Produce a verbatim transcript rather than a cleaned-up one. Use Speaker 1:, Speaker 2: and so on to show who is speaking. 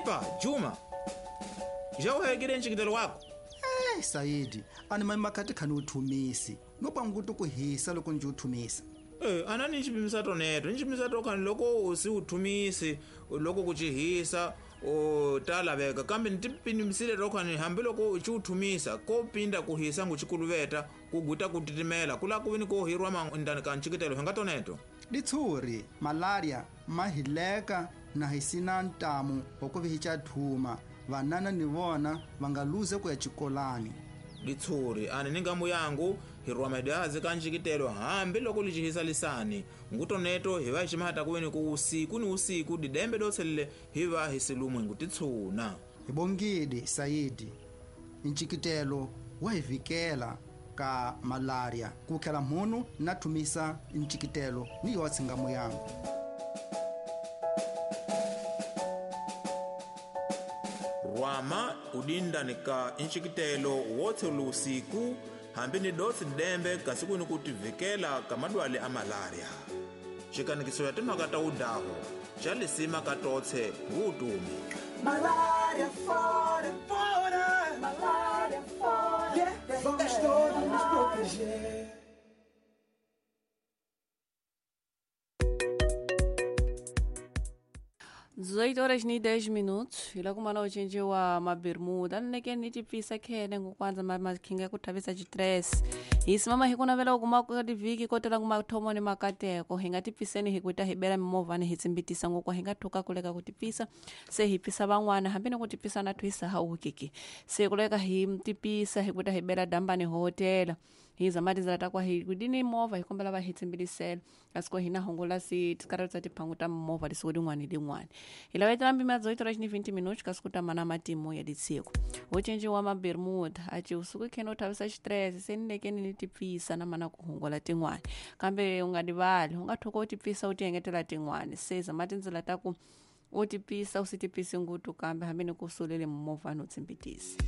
Speaker 1: Epa Juma, já uhegile ncikitelo wako?
Speaker 2: Eh, Saidi, ani mamakati khani uthumisi. No pangutu kuhisa loko nje uthumisa.
Speaker 1: Eh, anani nchipimisa toneto, nchipimisa tokhani loko usi uthumisi, loko kuchihisa, o talaveka kambe ntipimisile tokhani hambi loko uchiuthumisa kopinda kuhisa nguchikuluveta kuguta kutitimela kula kuvini kohirwa mandani ka ncikitelo hinga toneto.
Speaker 2: Ditshuri, malaria, mahileka na hisina ntamu wakuvihicha thuma, vanana ni vona vangaluze kuya chikolani.
Speaker 1: Ditshuri ani ni ngamu yangu hirwa madazi ka ncikitelo hambi loko lichihisa lisani ngutoneto hiva ximata kuveni ku usiku ni usiku didembe dotselele hiva hisilumwe ngutitshuna.
Speaker 2: Hibongidi Saidi, ncikitelo wa hivikela ka malaria kukhela mhunu na thumisa ncikitelo ni yotse ngamu yangu.
Speaker 1: Rwama udindani ka ncikitelo wotse lusiku hambi ni dotsi dembe kasi kuni kutivikela ka madwale a malaria. Xikanikiso ya timhaka ta udaho xa lisima ka totse ngutumi.
Speaker 3: Malaria fora, fora, malaria fora. Yeah, vamos todos nos proteger.
Speaker 4: dezoito horas e dez minutos iloko mana ucinjiwa mabermuda nineke ni tipfisa khene ngokwanza makhinga ku thavisa xitress hi simama hi ku navela ku kuma ka tivhiki ko tala ku mathomo ni makateko hi nga tipfiseni hi ku ta hi bela mimovhani hi tsimbitisa ngokwa hi nga thuka kuleka ku tipfisa se hi pfisa van'wana hambi ni ku tipfisa na twisa ha ukiki se kuleka hi tipisa hi ku ta hi bela dambani hotela hi zama tindzela ta kwa hi kudini movha hi kombela va hi tsimbilisela kasi ko hina hungula si tikarhelo tsa tiphangu ta mimovha tisiku din'wana ni din'wana hi lavetela mpimo ya dezoito horas e vinte minutos kasi ku ta mana matimu ya ditsiko wo cinciwa mabermuda a ci usuku khene u thavisa xitress se ni lekeni ni tipfisa na mana ku hungula tin'wana kambe u nga rivali u nga thuka u tipfisa u ti engetela tin'wana se zama tindzela ta ku u tipfisa u si tipfisi ngutu kambe hambi ni ku sulele mimovhani u tsimbitisa.